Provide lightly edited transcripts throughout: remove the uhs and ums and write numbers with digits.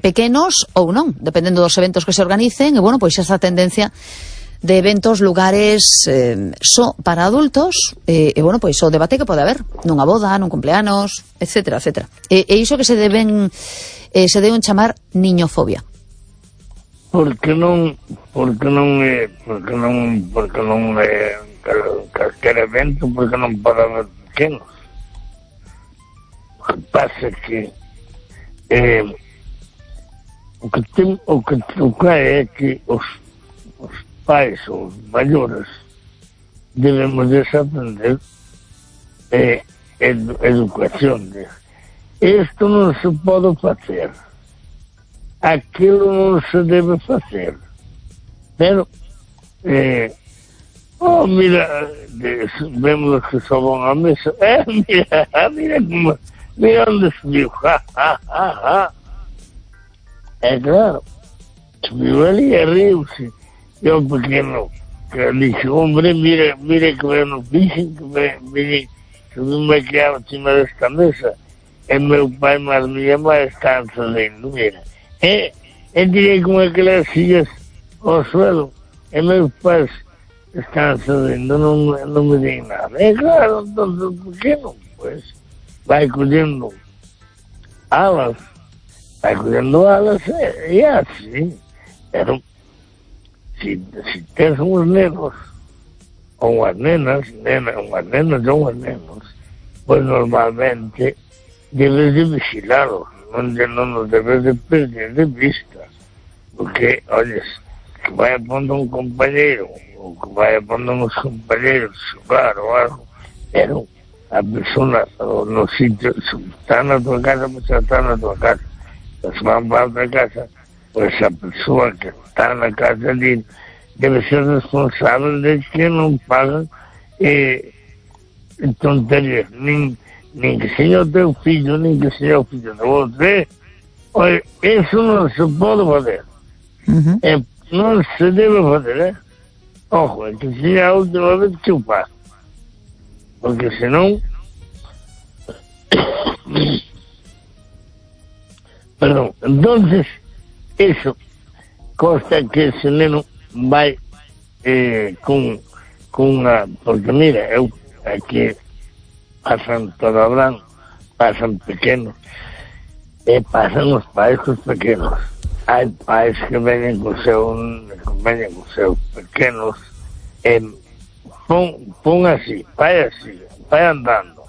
pequenos ou non, dependendo dos eventos que se organicen, e, bueno, pois esa tendencia de eventos, lugares só para adultos, e, bueno, pois o debate que pode haber nunha boda, nun cumpleanos, etcétera, etcétera. E iso que se deben chamar niñofobia. Porque non calquer evento, porque non pode haber pequenos. O que pasa que o que é que os pais ou os maiores debemos desaprender educación. Isto non se pode facer, aquilo non se debe facer, pero mira, vemos que só vão à mesa, mira onde subiu, é claro, subiu ali e riu-se. Eu pequeno, que disse, hombre, mira que eu não disse, que subiu-me aqui acima desta mesa, e meu pai e minha mãe estão fazendo, mira. Tirei com aquelas filhas ao suelo, e meus pais estão fazendo, não me dizem nada. É claro, todo pequeno, pois, vai colhendo alas, e é assim. Se tens uns nenos, ou umas nenas, ou uns nenos, pois normalmente debes de vigilá-los, não os debes de perder de vista, porque, olha, que vai pondo um companheiro, ou que vai pondo uns companheiros jogar ou algo, pero a pessoa no sítio, está na tua casa, pues está na tua casa, se van para outra casa, pues a pessoa que está na casa ali deve ser responsável de que não paga tonterias, nem que seja o teu filho, nem que seja o filho do outro. Olha, isso não se pode fazer. Não se deve fazer, Ojo, é que seja a última vez que eu faço. Porque senão... Perdão, entonces, isso consta que esse neno vai com uma... Porque mira, eu aqui passam todo branco, passam pequenos, e passam os pais com os pequenos. Há pais que vêm com seus pequenos, e põe assim, vai andando.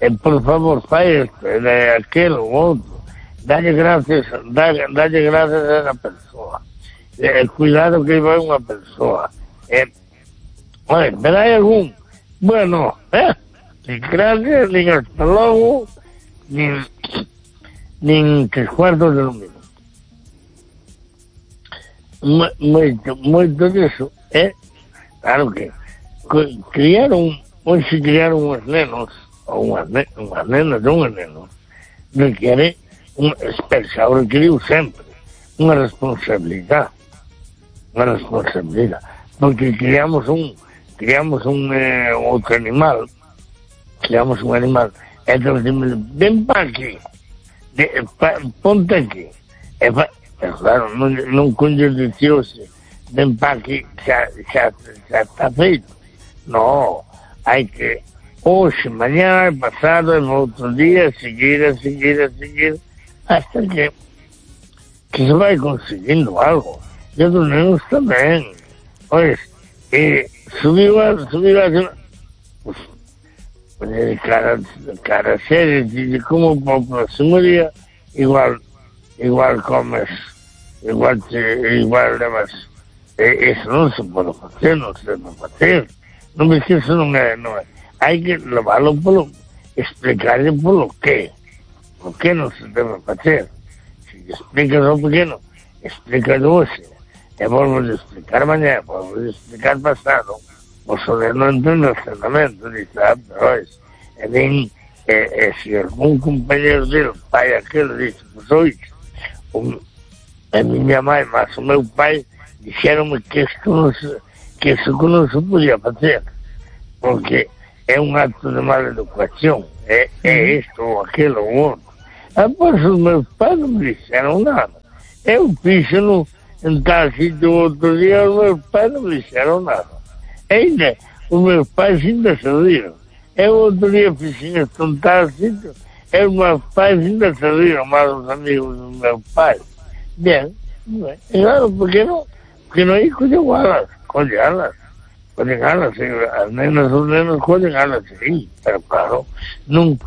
E por favor, faz este, aquele, o outro. Dá-lhe graças a essa pessoa. Cuidado que vai uma pessoa. Olha, pero hay algum. Bueno, ni gracias, ni hasta luego, ni 3/4 de lo mismo. Muito disso claro que criaram uns nenos, ou umas nenas ou uns nenos, requer especial, requeriu sempre uma responsabilidade, porque criamos um outro animal, então vem para aqui, ponte aqui, claro, não conjudiciou-se, vem para aqui, já está feito, não, há que, hoje, amanhã, passado, outro dia, seguir, hasta que se vai conseguindo algo. E os nenos também. Olha, subiu assim, cara séria, de como para o próximo dia, igual comes, igual levas. Isso não se pode fazer, não se deve fazer. Não me esqueço, não é. Há que levá-lo explicar-lhe pelo quê. O que não se deve fazer? Se explicas ao pequeno, explica-lhe hoje. Vamos explicar amanhã, vamos explicar passado. O senhor não entende o treinamento, diz, pois. Se algum companheiro dele, pai aquele, disse, pois hoje, a minha mãe, mas o meu pai, disseram-me que isso não se podia fazer. Porque é um ato de mal educação. É isto ou aquilo ou outro. Após os meus pais não me disseram nada. Eu fixo en tal sitio outro día, os meus pais non dixeron nada. Ainda, os meus pais ainda se riron. Eu outro día fixen isto en tal sitio, e os meus pais ainda se riron, máis os amigos dos meus pais. Bien, e claro, porque non aí collen alas, as nenas, os nenos collen alas, sí, pero claro, non,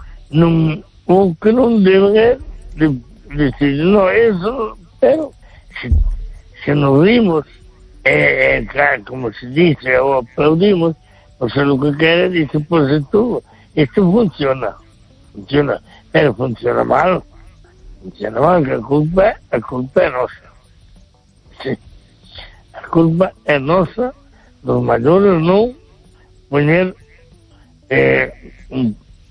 o que non deben é decir, no, eso, pero se nos rimos, claro, como se dice, o aplaudimos, o sea, lo que quere, dice, pues esto funciona, pero funciona mal, que a culpa é nosa. Sí, a culpa é nosa, dos maiores non poñer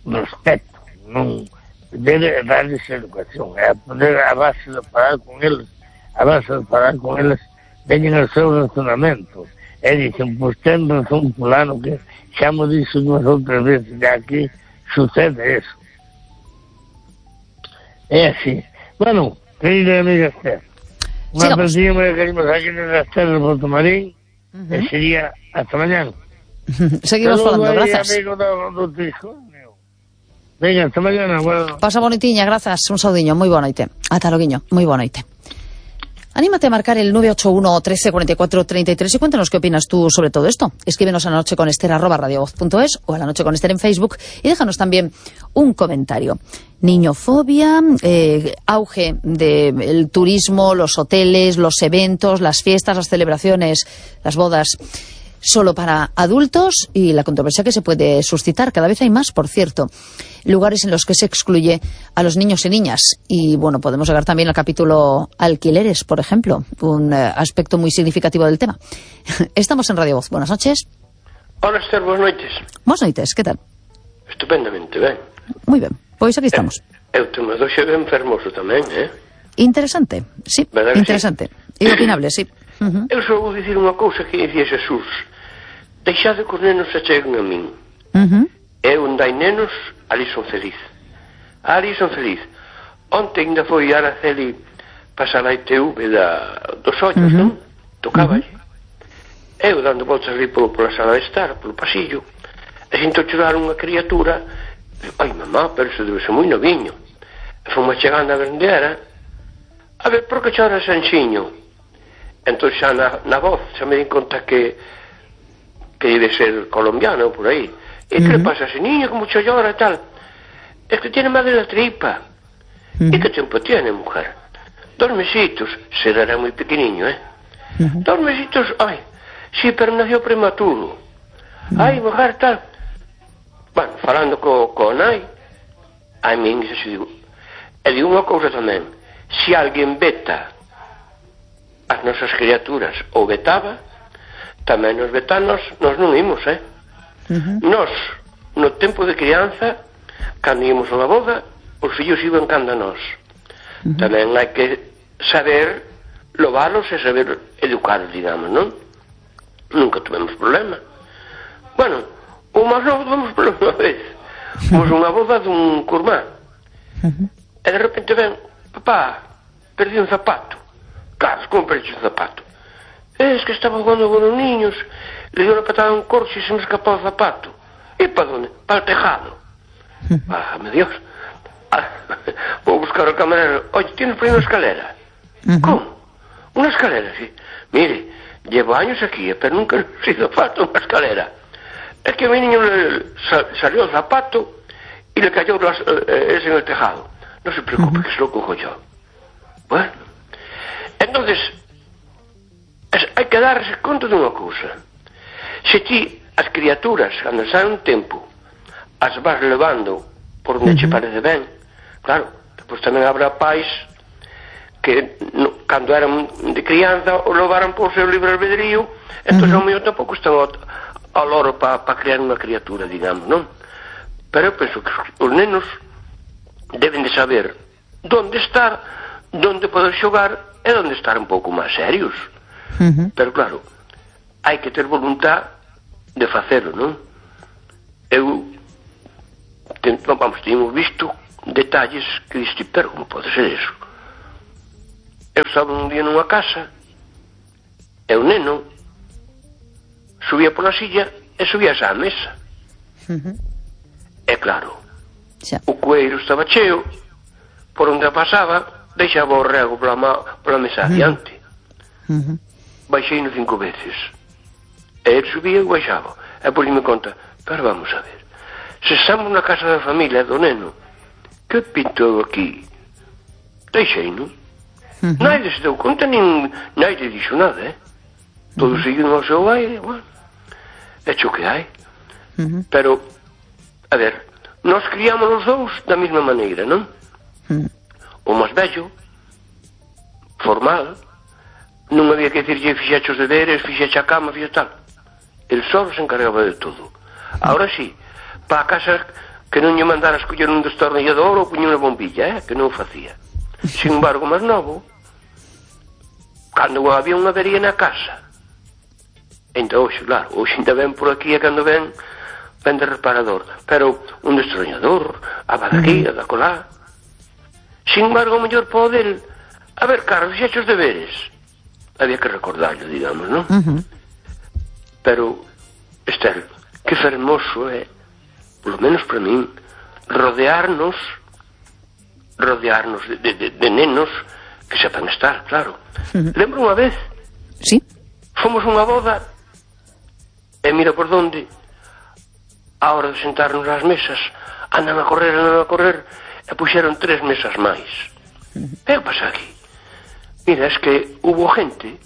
respeto, non poder darles educación, poder a base de parar con eles, veñen ao seu razonamento, e dicen, pois ten razón fulano, que xa mo dixo unhas outras veces, e aquí sucede eso. É así. Bueno, querida amiga Esther, unha partida moi queremos aquí na Esther de Porto Marín, e sería hasta mañana. Seguimos falando, grazas. Amigo do hijo. Venga, hasta mañana. Bueno. Pasa bonitiña, grazas, un saudiño, moi boa noite. Ata loguiño, moi boa noite. Anímate a marcar el 981 13 44 33 y cuéntanos qué opinas tú sobre todo esto. Escríbenos a lanocheconester@radiovoz.es o a La Noche con Ester en Facebook y déjanos también un comentario. Niñofobia, auge del turismo, los hoteles, los eventos, las fiestas, las celebraciones, las bodas solo para adultos y la controversia que se puede suscitar. Cada vez hay más, por cierto, lugares en los que se excluye a los niños y niñas. Y bueno, podemos llegar también al capítulo alquileres, por ejemplo, un aspecto muy significativo del tema. Estamos en Radio Voz. Buenas noches. Hola, Esther, buenas noites. Buenas noites, ¿qué tal? Estupendamente, ben. Muy bien, pois aquí estamos. Eu te me doxe ben fermoso tamén, Interesante, sí, interesante. Sí? E opinable, sí. Eu só vou dicir unha cousa que dicía Jesús: deixade que os nenos se cheguen a min. Eu onde hai nenos, ali son feliz. Ali son feliz. Onte ainda foi a Araceli pasar a ITV dos ollos, non? Tocaba eu dando voltas ali pola sala de estar, polo pasillo, e sinto chorar unha criatura. Ai, mamá, pero eso debe ser moi noviño. E fomos chegando a vendera. A ver, por que chora Sanxiño? Entón xa na voz xa me di conta que debe ser colombiano por aí. E que le pasa a ese niño, como mucho llora e tal? Es que tiene mal de la tripa. E que tempo tiene, mujer? 2 mesitos. Será moi pequeniño, 2 mesitos, ai, sí, pero nació prematuro. Ai, mujer, tal. Bueno, falando co nai, a min se digo, e digo unha cousa tamén: se alguén veta as nosas criaturas ou vetaba, tamén nos vetanos nos non imos, Nos, no tempo de crianza, cando íamos a unha boda, os fillos iban cando a nós. Tamén hai que saber lovalos e saber educaros, digamos, non? Nunca tuvemos problema. Bueno, o máis novo tuvemos problema unha vez. Fomos unha boda dun curmá. E de repente ven, papá, perdí un zapato. Claro, como perdí un zapato? Es que estaba jugando con los niños, le dio una patada a un corcho y se me escapó el zapato. ¿Y para dónde? Para el tejado. Válgame Dios. Voy a buscar al camarero. Oye, ¿tienes por ahí una escalera? ¿Cómo? Una escalera, sí. Mire, llevo años aquí, pero nunca he sido falta una escalera. Es que a mi niño le salió el zapato y le cayó ese en el tejado. No se preocupe, que se lo cojo yo. Bueno, entonces, hai que darse conta dunha cousa. Se ti, as criaturas, cando saen un tempo, as vas levando por onde che parece ben, claro, depois tamén habrá pais que cando eran de crianza o levaran por seu libre albedrío, entón ao mellor tampouco están ao loro para criar unha criatura, digamos, non? Pero eu penso que os nenos deben de saber onde estar, onde poder xogar e onde estar un pouco máis serios. Pero claro, hai que ter voluntad de facelo, non? Temos visto detalles que diste, pero como pode ser eso? eu estaba un día nunha casa e o neno subía pola silla e subía á mesa. E claro, o cueiro estaba cheo, por onde pasaba deixaba o rego pola mesa adiante. Baixei no 5 veces e ele subía e baixaba, e pois me conta, pero vamos a ver, se estamos na casa da familia do neno, que pinto eu aquí? Deixei, non? Naide se deu conta, nin naide dixo nada, todos seguindo ao seu aire, bueno, é xo que hai. Pero, a ver, nós criamos os dous da mesma maneira, non? O máis vello, formal, non había que dicirlle fixeche os deberes, fixeche a cama, fixeche tal. El só se encargaba de todo. Ahora sí, para a casa que non lle mandara escoller un destornillador ou puñer unha bombilla, que non o facía. Sin embargo, máis novo, cando había unha avería na casa, entón, hoxe, claro, hoxe ainda ven por aquí e cando ven de reparador, pero un destornillador, a aquí, a da colá. Sin embargo, o mellor pode a ver, Carlos, fixeche os deberes. Había que recordarlo, digamos, non? Pero, Esther, que fermoso é, polo menos para min, rodearnos de nenos que sepan estar, claro. Lembro unha vez, fomos unha boda, e mira por donde, a hora de sentarnos ás mesas, andan a correr, e puxeron 3 mesas máis. E o pasa aquí? Mira, es que hubo 20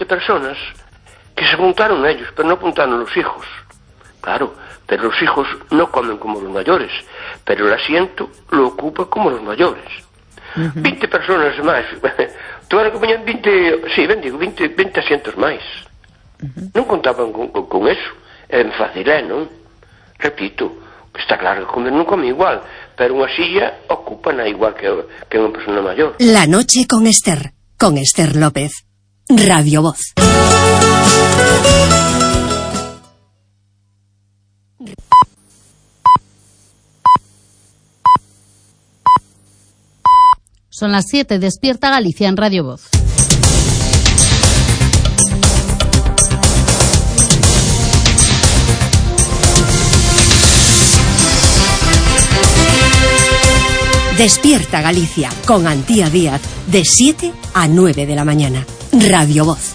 personas que se apuntaron ellos, pero no apuntaron los hijos. Claro, pero los hijos no comen como los mayores, pero el asiento lo ocupa como los mayores. 20 personas máis. Tuveron que poñer 20 asientos máis. Non contaban con eso. É fácil, non? Repito, está claro que comer non come igual, pero unha silla ocupan igual que unha persona maior. La noche con Esther López, Radio Voz. Son las 7, despierta Galicia en Radio Voz. Despierta Galicia con Antía Díaz de 7 a 9 de la mañana. Radio Voz.